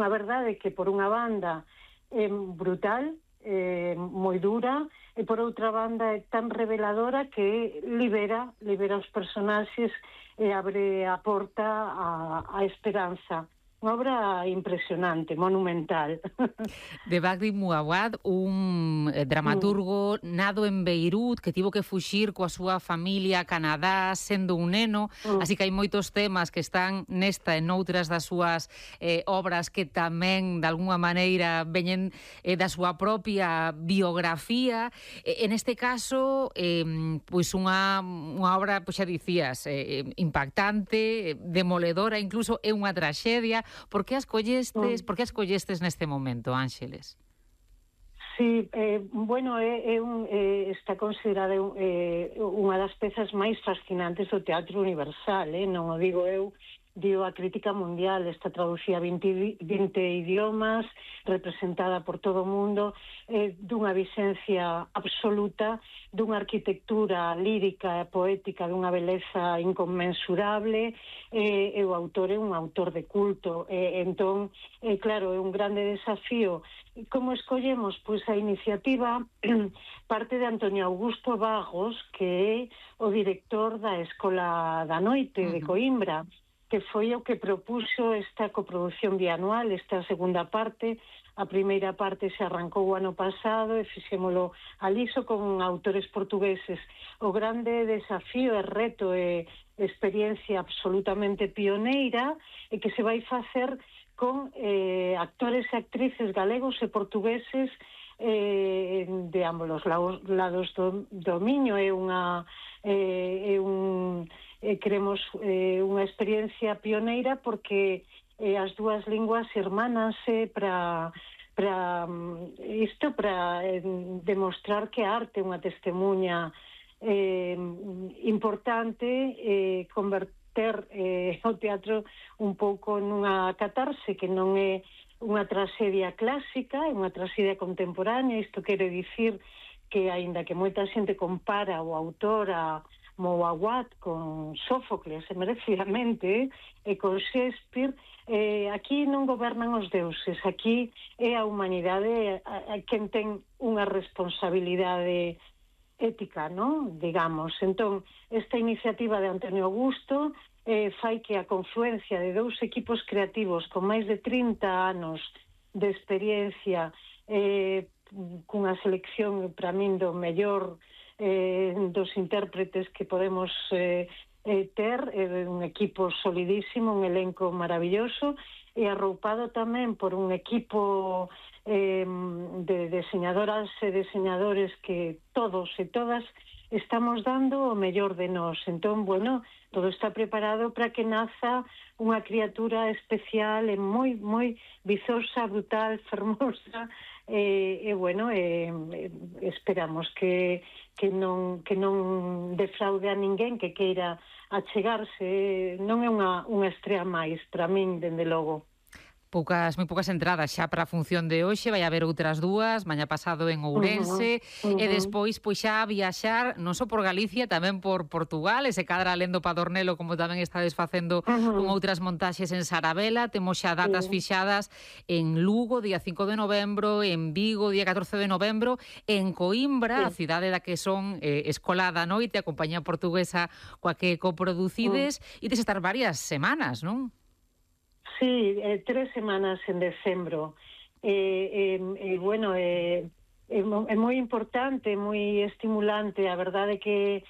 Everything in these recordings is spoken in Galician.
a verdade é que por unha banda é brutal, moi dura, e por outra banda é tan reveladora que libera os personaxes e abre a porta á esperanza. Unha obra impresionante, monumental. De Bagdi Mouawad, un dramaturgo nado en Beirut que tivo que fuxir coa súa familia a Canadá sendo un neno, así que hai moitos temas que están nesta e noutras das súas obras que tamén, de alguna maneira, veñen da súa propia biografía. En este caso, pois unha obra, pois xa dicías, impactante, demoledora, incluso é unha traxedia. Por que as collestes neste momento, Ángeles? Sí, bueno, está considerada unha das pezas máis fascinantes do teatro universal, non o digo eu, dio a crítica mundial, está traducida a 20 idiomas, representada por todo o mundo, dunha vixencia absoluta, dunha arquitectura lírica e poética dunha beleza inconmensurable, e o autor é un autor de culto, entón, claro, é un grande desafío. Como escollemos? Pois a iniciativa parte de Antonio Augusto Vagos, que é o director da Escola da Noite de Coimbra, que foi o que propuxo esta coproducción bianual, esta segunda parte. A primeira parte se arrancou o ano pasado e fixémolo aliso con autores portugueses. O grande desafío e reto e experiencia absolutamente pioneira e que se vai facer con actores e actrices galegos e portugueses de ambos os lados do Miño. Queremos unha experiencia pioneira porque as dúas linguas irmánanse para demostrar que a arte é unha testemunha importante, converter o teatro un pouco nunha catarse que non é unha traxedia clásica, é unha traxedia contemporánea. Isto quere dicir que, aínda que moita xente compara o autor a Mouawad con Sófocles, merecidamente, e con Shakespeare, aquí non gobernan os deuses, aquí é a humanidade a quen ten unha responsabilidade ética, non? Digamos. Entón, esta iniciativa de Antonio Augusto fai que a confluencia de dous equipos creativos con máis de 30 anos de experiencia, cunha selección, para min, do mellor dos intérpretes que podemos ter, un equipo solidísimo, un elenco maravilloso, e arroupado tamén por un equipo de diseñadoras e diseñadores que todos e todas estamos dando o mellor de nós. Entón, bueno, todo está preparado para que naza unha criatura especial e moi, moi vizosa, brutal, fermosa, e bueno, esperamos que non defraude a ninguén que queira achegarse. Non é unha estrea máis, para min, dende logo. Moi poucas entradas xa para a función de hoxe, vai haber outras dúas, mañá pasado en Ourense, e despois pois xa a viaxar non só por Galicia, tamén por Portugal, e se cadra alén do Padornelo, como tamén estades facendo con outras montaxes en Sarabela. Temos xa datas fixadas en Lugo, día 5 de novembro, en Vigo, día 14 de novembro, en Coimbra, a cidade da que son Escola da Noite, a compañía portuguesa coa que coproducides, e tes estar varias semanas, non? Sí, 3 semanas en decembro. Bueno, é moi importante, moi estimulante. A verdade é que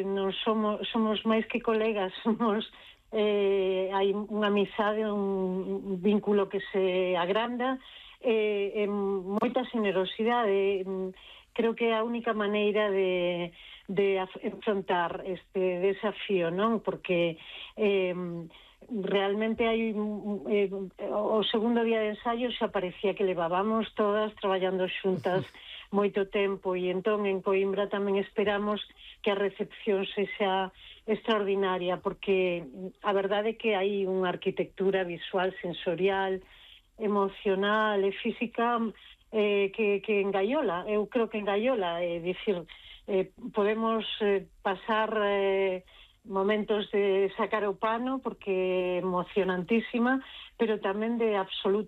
non somos máis que colegas, hai unha amizade, un vínculo que se agranda, moita generosidade. Creo que é a única maneira de enfrontar este desafío, non? Porque realmente hai o segundo día de ensaio xa parecía que levábamos todas traballando xuntas moito tempo, e entón en Coimbra tamén esperamos que a recepción sexa extraordinaria, porque a verdade é que hai unha arquitectura visual, sensorial, emocional e física que engaiola. Eu creo que engaiola, é dicir, podemos pasar momentos de sacar o pano porque é emocionantísima, pero tamén de absoluto